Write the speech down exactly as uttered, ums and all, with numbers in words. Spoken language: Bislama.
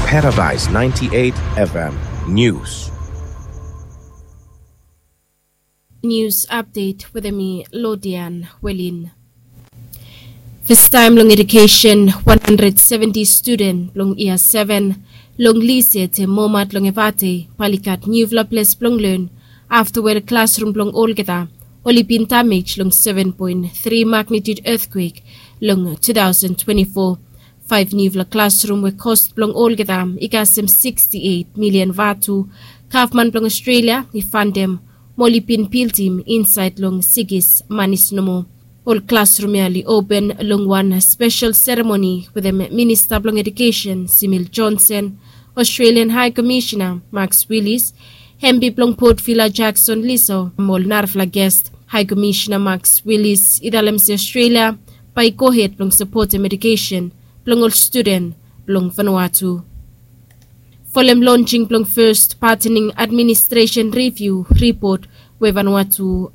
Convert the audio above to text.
Paradise ninety-eight F M News. News update with me, Lodian Welin. First time long education, one hundred seventy student long year seven long Lise te Momat long Evate, Palikat, newfla place blong learn after where classroom blong olgeta oli bin damage long seven point three magnitude earthquake long two thousand twenty-four. Five newfla classroom we cost blong olgeta i kasem sixty-eight million vatu. Gavman blong Australia i fandem mo oli bin bildim inside long Sigis Manis nomo. Ol classroom ya oli open long wan special ceremony wetem Minista blong Education Simil Johnson, Australian High Commissioner Max Willis, Hempi blong Port Vila Jackson Liso mo ol narafala guest. High Commissioner Max Willis i talem se Australia bai i gohed blong sapotem education blong ol student blong Vanuatu. Folem launching blong first partening administration review report we Vanuatu